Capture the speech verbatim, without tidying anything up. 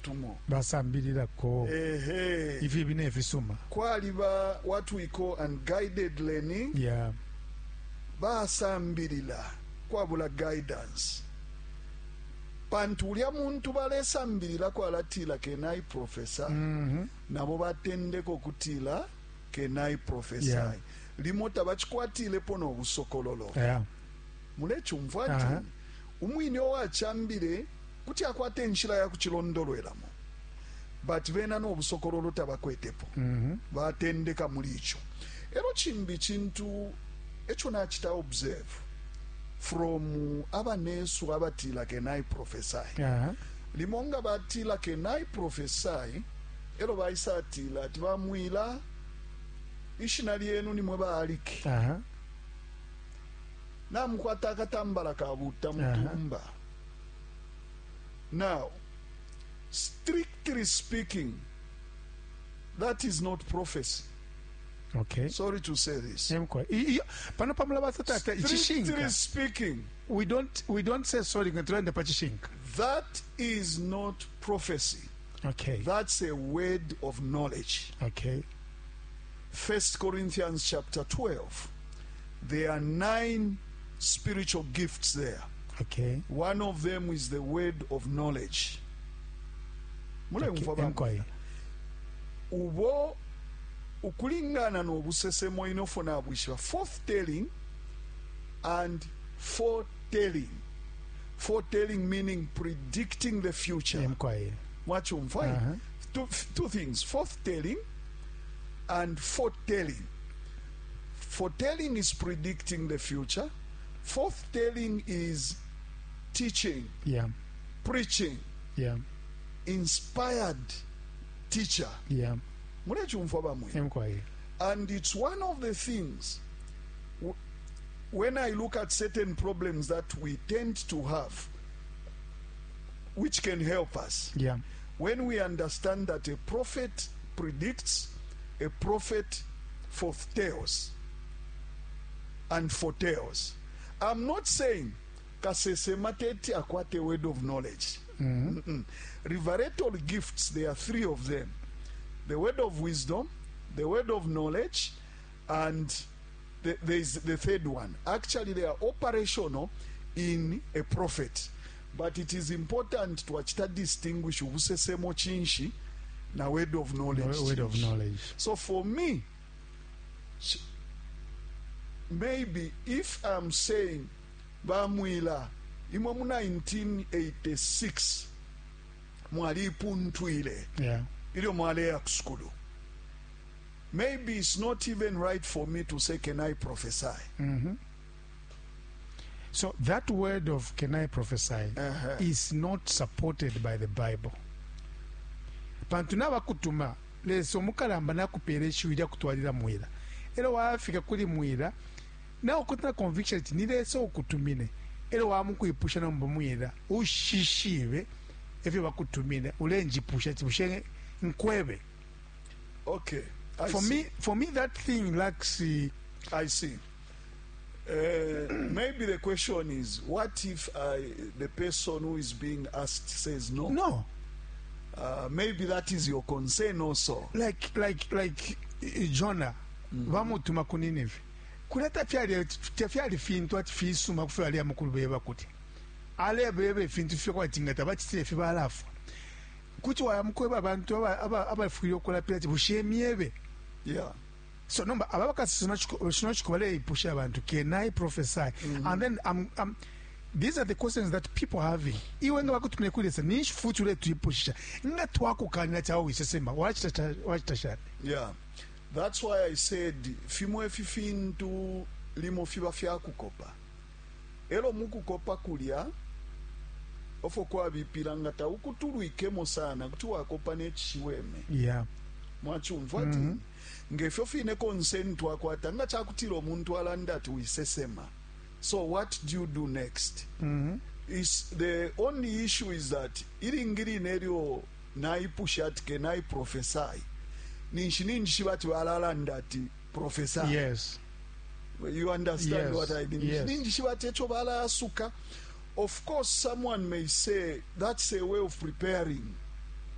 tumo. Basambililako Ehe. ifibi nefisuma. Kwaliba what we call unguided learning. Yeah basambilila kwabula guidance, pantu ulya muntu balesambililako alatila, "Can I prophesy?" mm -hmm. Nabo batendeka ukutila, "Can I prophesy?" Yeah. Limo tabachikwatilepo no busokololo. Yeah mulecumfwa Aha. ati umwine owachambile kuti akwata enshila ya kuchilondolwelamo, but bena no busokololo tabakwetepo. mm -hmm. Batendeka muli icho. Elo chimbi chintu echo nachita observe from abanesu abatila, "Can I prophesy?" yeah limo nga batila, "Can I prophesy?" elo baisatila ati bamwila ishina lyenu nimwe baaliki, Aha. namukwata akatambala kabuta mutumba. Now, strictly speaking, that is not prophecy. Okay sorry to say this. Emkwa. I- i- pano pamulaba tata Strictly ichishinka. speaking, we don't we don't say sorry nga tulanda pa chishinka. That is not prophecy. Okay that's a word of knowledge. Okay First Corinthians chapter twelve, there are nine spiritual gifts there. Okay one of them is the word of knowledge. Mulemva okay ba Emkwa. Ubo ukulingana n'obusesemo inofo nabwishiba forthtelling and foretelling. Foretelling meaning predicting the future. Emkwa. Mwachumva? Uh-huh. two, two things, forthtelling and foretelling. Foretelling is predicting the future. Forthtelling is teaching, yeah preaching, yeah inspired teacher. Yeah mulechumva bamwe? Emkwa. And it's one of the things w- when I look at certain problems that we tend to have, which can help us yeah when we understand that a prophet predicts, a prophet foretells and foretells. I'm not saying kasesema teti akwate word of knowledge. mm Mm-mm. Revelatory gifts, there are three of them: the word of wisdom, the word of knowledge, and the, there is the third one. Actually, they are operational in a prophet. But it is important to actually distinguish ubusesemo chinshi na word of knowledge Word of chinshi. knowledge. So for me, ch- maybe if I'm saying bamwila imwe mu nineteen eighty-six mwalipuntwile yeah ilyo mwaleya ku sukulu, maybe it's not even right for me to say, "Can I prophesy?" mm-hmm. So that word of "Can I prophesy?" uh-huh. is not supported by the Bible, pantu nabakutuma Lesa omukalamba nakupera ishiwi lya kutwalira mwila, elo wafika kuli mwila nakukwata na conviction ati ni Lesa ukutumine, elo wamukwipusha nomba mwila ushishibe efyo bakutumine ulenjipusha ati bushe nkwebe? Okay, I For see. me for me that thing lacks uh, I see. Uh, maybe the question is, what if I, the person who is being asked says no? No. Uh, maybe that is your concern also. like like like eh, Jonah bamutuma ku Nineve kulya tafyali tafyali fintu ati fisuma kufyo ali amukulu beba kuti alebeba ifintu fyo kwati nga tabachitile ifi balafwa kuti wayamukweba abantu aba- aba- abafwile okulapira ati bushe myebe? Yeah. So nomba aba bakasesema shino chiku baleipusha abantu, "Can I prophesy?" And then I'm, I'm, these are the questions that people are having. Iwe nga bakutumire kuli Lesa ninshi futi uletwipushisha nga twakukanira chawo wisesema wachita wachita shani? Yeah. That's why I said fimwe ifi fintu limo fiba fyakukopa. Elo mukukopa kulya ofo kwabipila nga taukutulwikemo sana kuti wakopa nechishiweme. Yeah mwachumva ati mm -hmm. ngefyo fine concern twakwata nga chakutila omuntu alanda ati wisesema, so what do you do next? mm -hmm. Is the only issue is that ilingi line elyo naipusha ati, "Can I prophesy?" ninshi ninjishiba ati balalanda ati prophesy. Yes you understand Yes, what I mean? yes. Ninjishiba ati echo balayasuka. Of course, someone may say that's a way of preparing.